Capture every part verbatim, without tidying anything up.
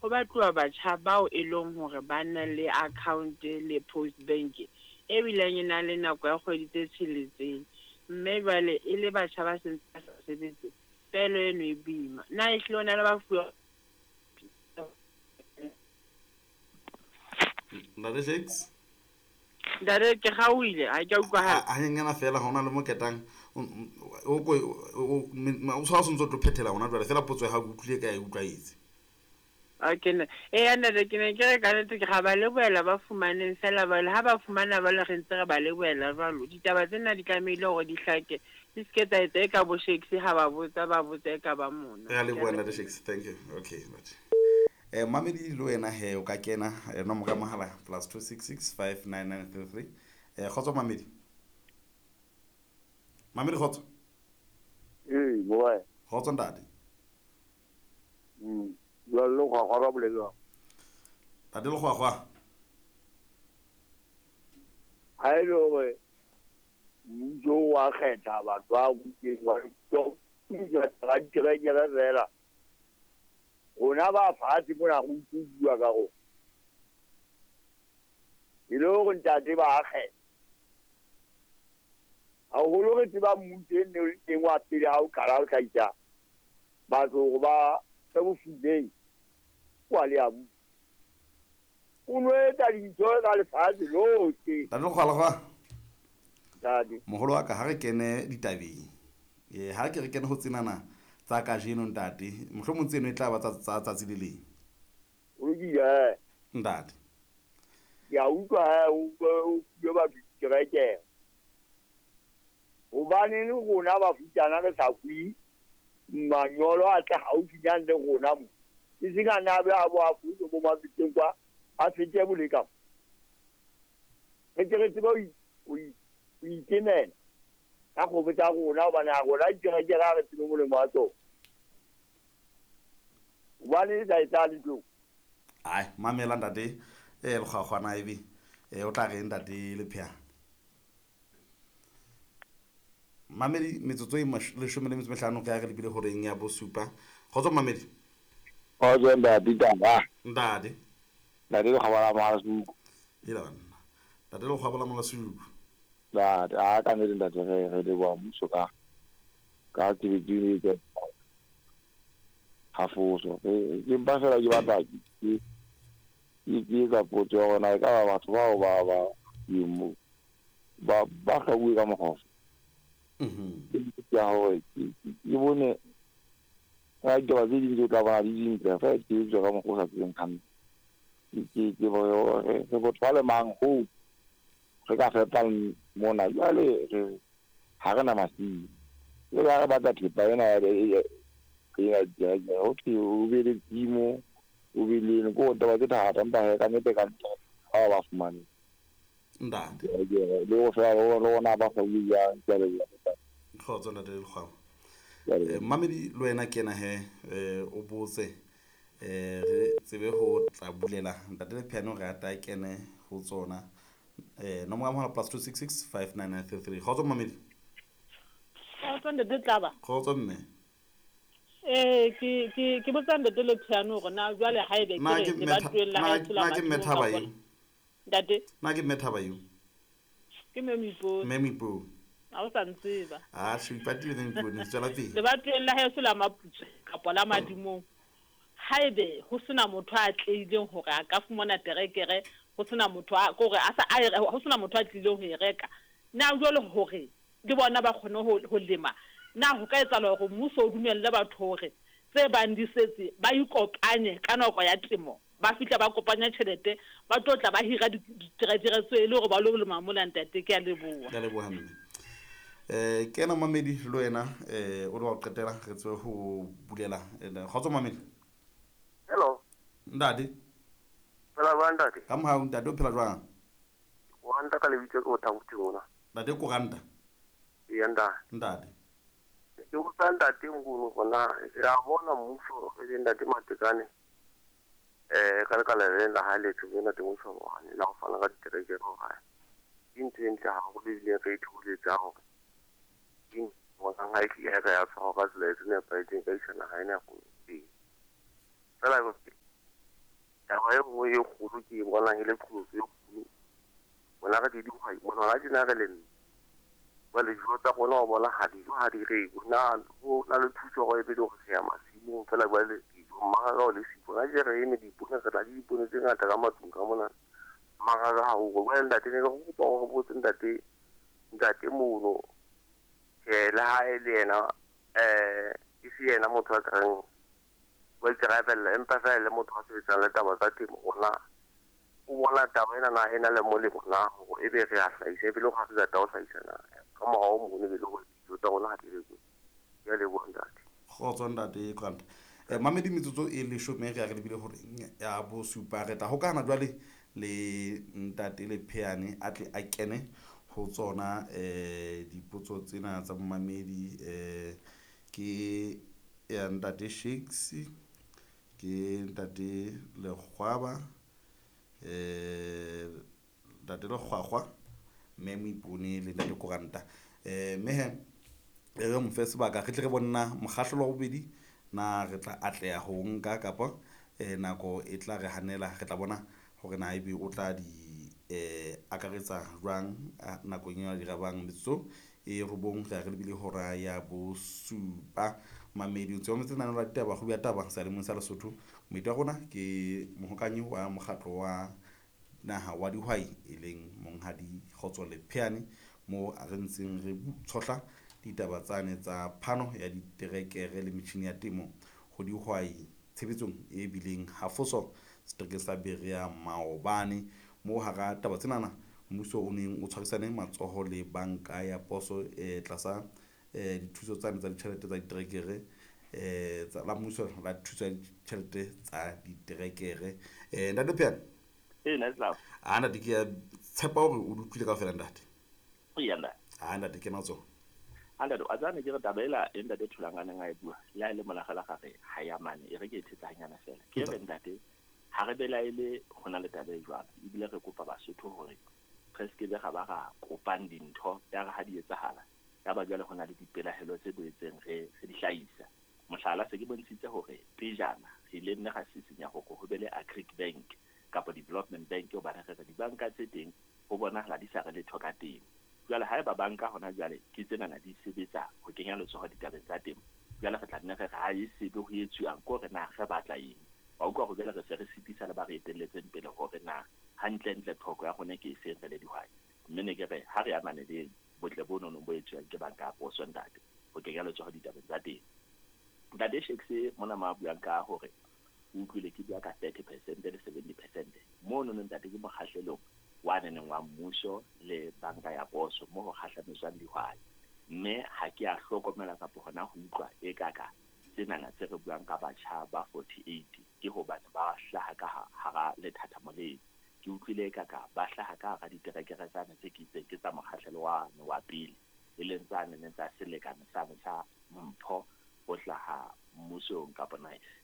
Ho batluwa batjha bao e leng hore ba na le account le Post Bank e bileng e na le nako ya kgwedi tse tsheletseng. Mme jwale e le batjha ba sentse ba sa sebetse, pehelo eno e boima. Na ehlile ho na le ba fuwa Ntate Shakes? Ntate, ke kgaohile, ha ke a utlwahala. A nyenyana fela ha hona le mo ketang o ko o tshwara o ntso tlo phethela hona jwale fela potso ya hao ke utlwile ka e utlwaetse. Okay, ne. Eya ntate, ke ne ke re ka nnete ke ra ba lebohela ba fumaneng fela jwale ha ba fumana jwale re ntse re ba lebohela jwalo. Ditaba tsena di tlamehile hore di hlake, di se ke tsa etsa e ka bo Shakes ha ba botsa ba botsa e ka ba mona. Re a leboha ntate Shakes, thank you. Okay, ntate. Eh mamedi le wena he o ka kena eh, nomoro ya mohala plus two six six five nine nine three three. Eh kgotso mamedi. Mamedi kgotso. Ee, boy. Kgotso ntate. Mm. Jwale le kgwakgwa ba bolelwang. Ntate le kgwakgwa. Ha e le hore mmuso wa kgetha batho ba butseng wa ba diterekere fela. Rona ba fatshe mona re utlwe bua ka rona. E le hore ntate ba kgetha. Haholo re tseba mmuso e ne o le teng wa pele ha o qala ho hlahisa batho hore ba tse bofumeng wa le a busa. O no etsa dintho ka lefatshe lohle. Ntate Lekgwalekgwa. Ntate. Moholo wa ka ha re kene ditabeng. Eh ha ke re kene ho tsenana tsa kajeno ntate, mohlomong tseno e tla ba tsa tsa tsatsi le leng. O lokile. Ntate. Ke a utlwa he o o fuwe batho diterekere. Hobaneng rona bafutsana re sa fuwe manyolo a tle haufinyane le rona mo. E seng a na be a bo a fuwe bo mafeteng kwa a fete boleka. Re tle re tsebe ho ho ikemela ka kgomo tsa rona hobane ha rona diterekere ha re tsebe molemo wa tsona. Hobane e sa etsahale ntho. Ai, mamela ntate eh lekgwakgwana ebe eh o tla re ntate Lephea. Mamedi metsotso e leshome le metso e mehlano ka re lebile horeng ya bosupa. Kgotso mamedi. Kgotso ntate taba. Ntate. Ntate Lekgwaba la Malasuku. Ela banna. Ntate Lekgwaba la Malasuku. Ntate, a ka nnete ntate re re leboha mmuso ka ka tshebetso e ha foso. Ke mpa fela ke batla ke ke ke etsa potso ya hore na ekaba batho bao ba ba ba ba hlabuwe ka mokgwa ofe. Mhm. Ke ya hore ke bone ka ditaba tse ding tse o tla bona di dintle feela di etswa ka mokgwa o sa tsebeng hantle. Ke ke re re botho ba le mang hoo re ka fepang mona jwale re ha re na masimo. Jwale ha re batla thepa ena ya ya ho thwe o be le tshimo o be le eng, ko taba tse thata empa hee ka nnete ka nnete bao ba fumane. Ntate. Le ho fela le rona ba kgwebo jwang, ke a leboha. Kgotso ntate Lekgwaba. Eh mamedi le wena kena he eh o botse eh re tsebe ho tla bulela ntate Lepheano re ata kene ho tsona. Eh nomoro ya mohala plus two six six five nine nine three three. Kgotso mamedi. Kgotso ntate Tlaba. Kgotso mme. Eh ke ke ke botsa ntate Lepheano hore na jwale haebe ke Na re ke le mme batuweng la na haeso la na ke mme Madimo Thaba ka eo. Ntate. Na ke mme Thaba eo. Ke mme Moipone. Mme Moipone. Ha o sa ntseba. Ah, se ipatile mme Moipone, tswela pele. Lebatoweng la haeso la Maputswe kapa la Madimong. Haebe ho sena motho a atlehileng hore a ka fumana terekere, ho sena motho a kore a sa a ho sena motho a tlileng ho e reka. Na jwale hore le bona ba kgone ho ho lema. Na ho ka etsahala hore mmuso o dumelle batho hore tse bang di setse ba ikopanye ka nako ya temo. Ba fihla ba kopanya tjhelete ba tlo tla ba hira diterekere tseo e le hore ba lo lema mola ntate. Ke a leboha. Ke a leboha mme. Eh kena mamedi le wena eh o le wa qetela re tswe ho bulela. Kgotso mamedi. Hello. Ntate. Phela jwang ntate? Ka mohau ntate o phela jwang? Koranta ka lebitso ke o Thabuti mona. Ntate Koranta. Eya ntate. Ntate. Ke botsa ntate Nguni hore re a bona mmuso e leng ntate Matekane eh ka lekala le la hae le tlo ntate Moshoane la ho fana ka diterekere hore ke ntho e ntle haholo ebile re itholetsa hore ke bonang ha e tlile ka ya tshwarwa ka tsela e nepahetseng ka isa naha ena ya rona pele. Fela Taba e nngwe e kgolo ke e bonang e le qholotso e kgolo, rona re di dihwai mona hona tjena re lemme. Jwale dijo tsa rona wa bona ha dijo ha di rekwe. Na ho na le thuso hore ebe le hore re ya masimong feela jwale dijo mmaraka o le siko. Hona tje re eme dipoone, re na le dipoone tse ngata ka matlung ka mona. Mmaraka ha o jwale ntate ne ke kopa hore re botse ntate ntate mono tjhe le ha e le yena eh e se yena motho a ka reng wa ikarabella, empa feela e le motho a sebetsang le taba tsa temo rona o bona taba ena na e na le molemo na hore ebe re a hlahisa ebile ha re qeta ho hlahisa na ka morao mono ebe le hore dijo tsa rona ha di rekwe. Ke a leboha ntate. Kgotso ntate Grant. Eh mamedi metsotso e leshome re a re lebile hore ya bosupa re tla hokana jwale le ntate Lepheane a tle a kene ho tsona eh dipotso tsena tsa momamedi eh ke ya ntate Shakes, ke ntate Lekgwaba, eh ntate Lekgwakgwa, mme Moipone le ntate Koranta. Eh mme he re mo fe sebaka re tle re bone mokgahlelo wa bobedi na re tla atleha ho nka kapa eh nako e tla re hanela, re tla bona hore na ebe o tla di eh akaretsa jwang nakong ya dirabang metsotso e robong re re lebile hora ya bosupa. Mamedi o ntse o mametse lenaneo la ditaba kgwebo ya taba seyalemoyeng sa Lesotho. Moeti wa rona ke mohokanyi wa mokgatlo wa naha wa dihwai e leng Monghadi Kgotso Lepheane, mo re ntseng re tshohla ditaba tsane tsa phano ya diterekere le metjhini ya temo ho dihwai tshebetsong e bileng hafoso seterekeng sa Berea maobane. Mo hara taba tsenana mmuso o neng o tshwarisane matsoho le banka ya poso eh tlasa eh dithuso tsane tsa ditjhelete tsa diterekere eh tsa la mmuso la thuso ya ditjhelete tsa diterekere. Eh ntate Lepheane. Eh nna tla. A ntate ke a tshepa hore o utlwile kaofela ntate. Eya ntate. A ntate ke natso. Ntate a tsane ke re taba ela e ntate Thulanganeng a e bua le ha e le molagala gare ha ya mane e re ke e thetsa hanyana fela. Ke re ntate ha re belaele ho na le taba e jwalo ebile re kopa Basotho hore re se ke be ga ba ra kopang dintho ya re ha di etsahala ya ba jwale ho na le dipelaelo tse boetseng re re di hlahisa. Mohlala se ke bontshitse hore pejana re ile nne ga sisinya hore ho be le Agric Bank kapa Development Bank hobane re re dibanka tse teng ho bonahala di sa re letho ka temo. Jwale haeba banka hona jwale ke tsenana di sebetsa ho kenya letsoho ditabeng tsa temo, jwale re tla nne re re ha e sebe ho etsuwang ko re na re batla eng. Wa utlwa hore jwale re se re sitisa le ba re etelletseng pele hore na hantlentle tlhoko ya rona ke e seng re le dihwai. Mme ne ke re ha re amane le botle bo nono bo etsuwang ke banka ya poso ntate ho kenya letsoho ditabeng tsa temo. Ntate Shakes mona ma buang ka hore o utlwile ke bua ka thirty percent le seventy percent mono ntate ke mokgahlelong wa neneng wa mmuso le banka ya poso mo ho kgahlametswang dihwai. Mme ha ke a hlokomela kapa hona ho utlwa e kaka tsenana tse re buang ka batjha ba forty-eight ke hobane ba hlaha ka hara lethathamo leo. Ke utlwile e kaka ba hlaha ka hara diterekere tsane tse ke itseng ke tsa mokgahlelo wane wa pele e leng tsane neng tsa selekane sane sa mpho ho hlaha mmusong kapa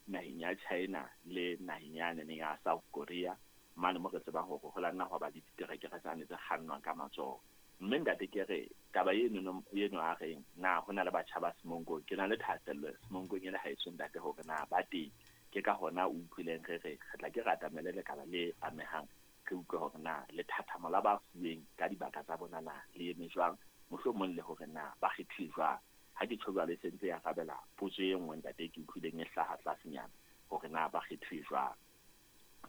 naheng ya China le naheng ya neng ya South Korea mane mo re tsebang hore ho la nna hwa ba le diterekere tsane tse kgannwang ka matsoho. Mme ntate ke re taba eno eno a reng na ho na le batjha ba Semonkong, ke na le thahasello Semonkong e le haeso ntate hore na ba teng. Ke ka hona o utlwileng re re re tla ke re atamele lekala le amehang re utlwe hore na lethathamo la ba fuweng ka dibaka tsa bona na le eme jwang, mohlomong le hore na ba kgethile jwang. Ha ke tjho jwalo e sentse ya arabela potso e nngwe ntate ke utlwileng e hlaha tlasenyana hore na ba kgethile jwang.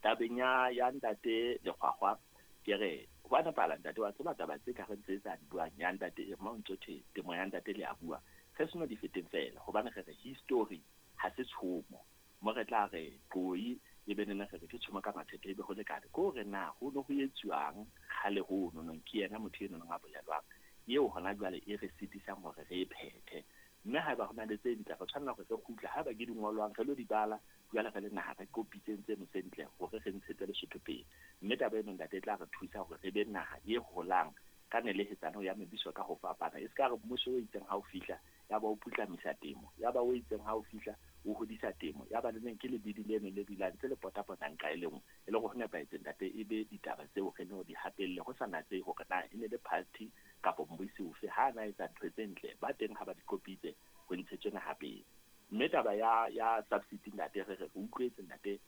Tabeng ya ya ntate Lekgwakgwa ke re ho a nepahala ntate wa tseba taba tse ka re ntse tsa di buang ya ntate e mo ntso thwe temo ya ntate le a bua re seno di feteng fela hobane re re history ha se tshomo mo re tla re qoi e be nene re re ke tshomo ka mathethe ebe ho lekane ko re na ho no ho etsuwang kgale ho no nong ke yena motho eno a bolelwang eo hona jwale e re sitisang hore re e phethe. Mme haeba ho na le tse ntle re tshwanela hore re kgutle haeba ke dingolwang re lo di bala jwale re le naha re kopitseng tseno tse ntle hore re ntshetse Lesotho pele. Mme taba eno ntate e tla re thusa hore re be naha e holang ka nelehetsano ya mebuso ka ho fapana. E se ka re mmuso o itseng ha o fihla ya ba o putlamisa temo, ya ba o itseng ha o fihla o hodisa temo, ya ba le neng ke lebidi leno le dulang tse le potapotang ka e le nngwe e le hore ho nepahetse ntate e be ditaba tseo re no di hatelle ho sa natsehe hore na e ne le party kapa mmusi ofe ha na etsa ntho tse ntle ba teng ha ba di kopitse ho ntshetswe naha pele. Mme taba ya ya subsidy ntate re re utlwetse ntate